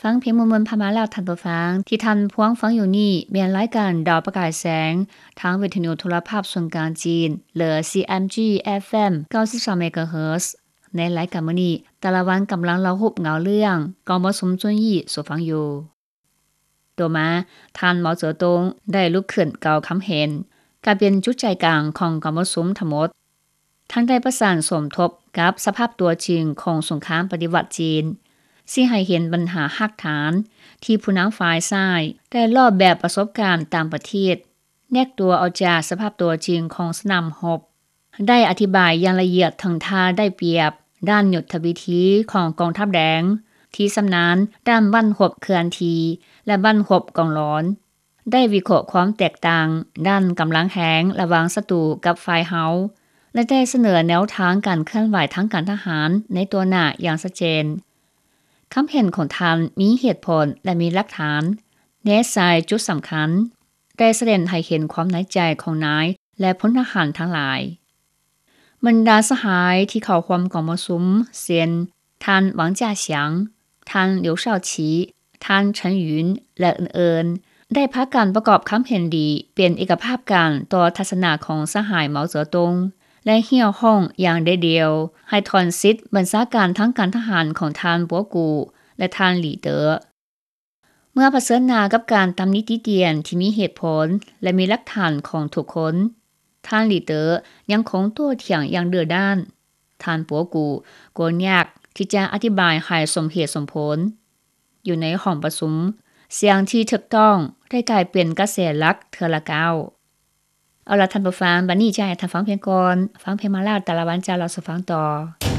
ຟັງເພງມ່ວນໆຜ່ານມາແລ້ວທ່ານຜູ້ຟັງ. ທີ່ທ່ານພວງຟັງຢູ່ນີ້ແມ່ນລາຍການດາວປະກາຍແສງ ທາງວິທະຍຸໂທລະພາບສ່ວນກາງຈີນ ຫຼື CMG FM ເກົ້າສິບສາມ MHz. ໃນລາຍການມື້ນີ້ ຕາລະວັນກຳລັງເລົ່າຮູບເງົາເລື່ອງກອງປະຊຸມຈຸນຢີ່ສູ່ຟັງຢູ່. ຕໍ່ມາ ທ່ານເໝົາເຈີຕົງໄດ້ລຸກຂຶ້ນກ່າວຄຳເຫັນ ກາຍເປັນຈຸດໃຈກາງຂອງກອງປະຊຸມທັງໝົດ. ທ່ານໄດ້ປະສານສົມທົບກັບສະພາບຕົວຈິງຂອງສົງຄາມປະຕິວັດຈີນ ຊີ້ໃຫ້ເຫັນບັນຫາຮາກຖານທີ່ຜູ້ນຳຝ່າຍຊ້າຍໄດ້ລອກແບບປະສົບການຕ່າງປະເທດ ແນກຕົວອອກຈາກສະພາບຕົວຈິງຂອງສະໜາມຮົບ, ໄດ້ອະທິບາຍຢ່າງລະອຽດເຖິງທ່າໄດ້ປຽບດ້ານຍຸດທະວິທີຂອງກອງທັບແດງ ທີ່ຊຳນານດ້ານບັ້ນຮົບເຄື່ອນທີ່ ແລະ ບັ້ນຮົບກອງຫຼອນ, ໄດ້ວິເຄາະຄວາມແຕກຕ່າງດ້ານກຳລັງແຮງລະຫວ່າງສັດຕູກັບຝ່າຍເຮົາ ແລະ ໄດ້ສະເໜີແນວທາງການເຄື່ອນໄຫວທາງການທະຫານໃນຕໍ່ໜ້າຢ່າງຊັດເຈນ. ຄຳເຫັນຂອງທ່ານມີເຫດຜົນ ແລະ ມີຫຼັກຖານ, ແນໃສ່ຈຸດສຳຄັນ, ໄດ້ສະແດງໃຫ້ເຫັນຄວາມໃນໃຈຂອງນາຍ ແລະ ພົນທະຫານທັງຫຼາຍ. ບັນດາສະຫາຍທີ່ເຂົ້າຮ່ວມກອງປະຊຸມ ເຊັ່ນ ທ່ານ ຫວັງຈາສຽງ, ທ່ານ ຫຼຽວຊາວຊີ, ທ່ານ ເສີນຫຍຸນ ແລະ ອື່ນໆ ໄດ້ພາກັນປະກອບຄຳເຫັນດີເປັນເອກະພາບກັນຕໍ່ທັດສະນະຂອງສະຫາຍເໝົາເຈີຕົງ ແລະ ຮຽກຮ້ອງຢ່າງເດັດດ່ຽວໃຫ້ຖອນສິດບັນຊາການທາງການທະຫານຂອງທ່ານ ປົວກູ ແລະ ທ່ານ ຫຼີເຕີ. ເມື່ອຜະເຊີນໜ້າກັບການຕຳໜິຕິຕຽນທີ່ມີເຫດຜົນ ແລະ ມີຫຼັກຖານຂອງທຸກຄົນ, ທ່ານ ຫຼີເຕີ ຍັງຄົງໂຕ້ຖຽງຢ່າງດື້ດ້ານ. ທ່ານ ປົວກູ ກໍຍາກທີ່ຈະອະທິບາຍໃຫ້ສົມເຫດສົມຜົນ. ຢູ່ໃນຫ້ອງປະຊຸມ, ສຽງທີ່ຖືກຕ້ອງໄດ້ກາຍເປັນກະແສຫຼັກເທື່ອລະກ້າວ. ເອົາລະທ່ານຜູ້ຟັງ, ບັດນີ້ຈະໃຫ້ທ່ານຟັງເພງກ່ອນ. ຟັງເພງມາແລ້ວ ຕາລະວັນຈະເລົ່າສູ່ຟັງຕໍ່.